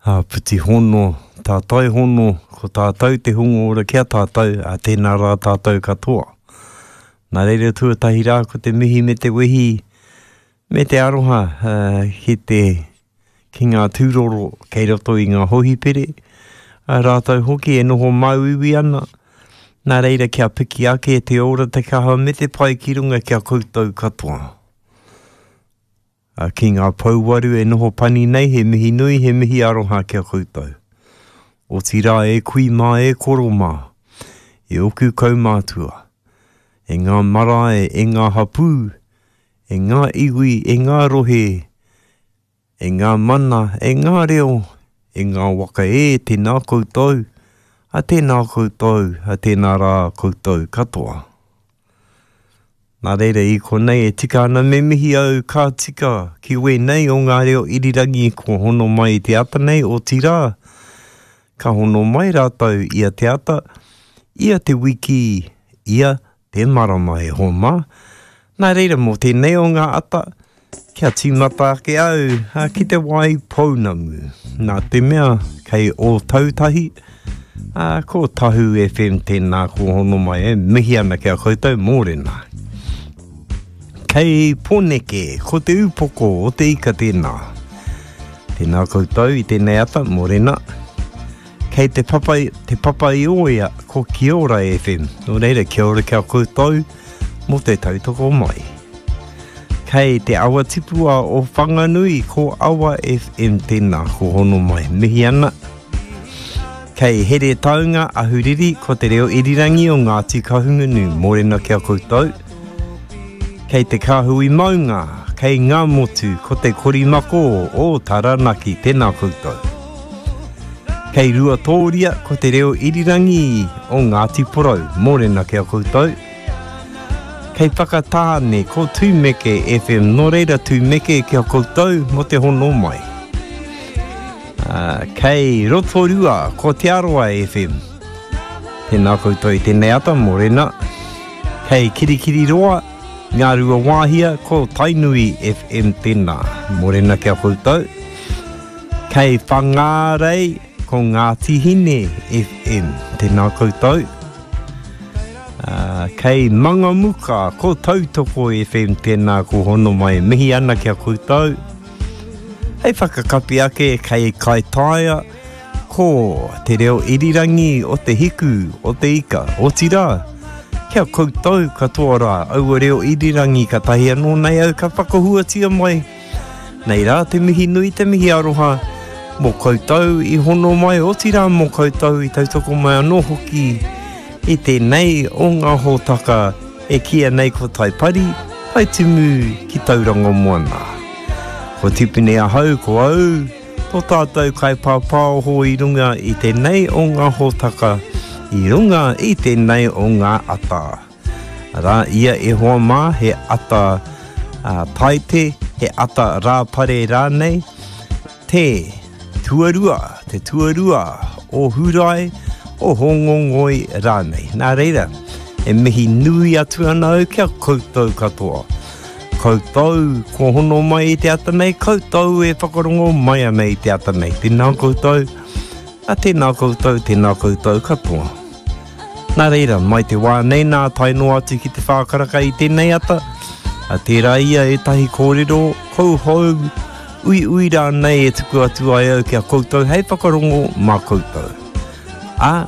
Āpiti hono, tātai hono, ko tātou te hunga ora ki a tātou, ā, tēnā rā tātou katoa. Nā reira tuatahi rā ko te mihi me te wehi me te aroha ki te ki ngā tūroro kei roto i ngā hohipere, ā rātou hoki e noho māuiui ana, nā reira kia piki ake te ora, te kaha me te pai ki runga ki a koutou katoa. Ā, ki ngā pouwaru e noho pani nei, he mihi nui, he mihi aroha ki a koutou. Otirā e kui mā, e koro mā, e oku kaumātua, e ngā marae, e ngā hapū, e ngā iwi, e ngā rohe, e ngā mana, e ngā reo, e ngā waka e, tēnā koutou, a tēnā koutou, a tēnā rā koutou katoa. Nā reira i konei e tika ana me mihi au ka tika ki wēnei o ngā reo irirangi kua hono mai i te ata nei, otirā, ka hono mai rātou ia te ata, ia te wiki, ia te marama e hoa mā. Nā reira mō tēnei o ngā ata, Kia tīmata ake au ki te wai pounamu. Nā te mea kei Ōtautahi, ko Tahu FM tēnā ko hono mai e mihi ana ki a koutou mōrena. Kei Pōneke, ko te upoko o te ika tēnā. Tēnā koutou i tēnei ata, mōrena. Kei te papa, te papa i Ōia, ko Kiora FM. Nō reira, kia ora ki a koutou mō te tautoko mai. Kei te awa tipua o Whanganui, ko Awa FM tēnā, ko hono mai. Mihi ana. Kei Heretaunga, Ahuriri, ko te reo irirangi o Ngāti Kahungunu. Mōrena ki a koutou. Kei te kāhui maunga, kei Ngāmotu, ko te korimako o Taranaki. Tēnā koutou. Kei Ruatōria, ko te reo irirangi o Ngāti Porou. Mōrena ki a koutou. Kei Whakatāne, ko Tūmeke FM. Nō reira Tūmeke ki a koutou mō te hono mai. Kei Rotorua, ko Te Arawa FM. Tēnā koutou i tēnei ata, mōrena. Kei Kirikiriroa, Ngāruawāhia, ko Tainui FM tēnā. Mōrena ki a koutou. Kei Whangārei, ko Ngāti Hine FM. Tēnā koutou. Kei Mangamuka, ko Tautoko FM tēnā ko hono mai. Mihi ana ki a koutou. Hei whakakapi ake kei Kaitaia, ko te reo irirangi o te hiku, o te ika, otirā, ki a koutou katoa rā, aua reo irirangi katahi anō nei au ka whakahuatia mai. Nei rā te mihi nui, te mihi aroha mō koutou i hono mai, otirā mō koutou i tautoko mai anō hoki i tēnei o ngā hōtaka e kīia nei ko Taipari, Taitimu ki Tauranga Moana. Ko Tipene ahau, ko au, tō tātou kaipāpāoho i runga i tēnei o ngā hōtaka, i runga i tēnei o ngā ata. Arā ia e hoa mā, he ata Taite, he ata Rāpare rānei, te tuarua, te tuarua o Hurae, o Hōngongoi rānei. Nā reira, e mihi nui atu ana au ki a koutou katoa. Koutou kua hono mai i te ata nei, koutou e whakarongo mai ana i te ata nei. Tēnā koutou, a tēnā koutou, tēnā koutou katoa. Nā reira, mai te wā nei nā tae noa atu ki te whākaraka i tēnei ata, a tērā ia ētahi kōrero kouhou, uiui rānei e tuku atu ai au ki a koutou hei whakarongo mā koutou. Ā,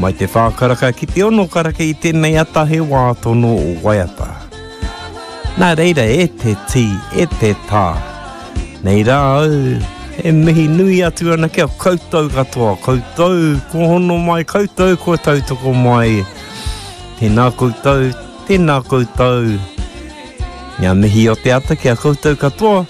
mai te whākaraka ki te ono karaka i tēnei ata he wā tono o waiata. Nā reira e te tī, e te tā, nei rā au e mihi nui atu ana ki a koutou katoa, koutou kua hono mai, koutou kua tautoko mai. Tēnā koutou, tēnā koutou. Ngā mihi o te ata ki a koutou katoa.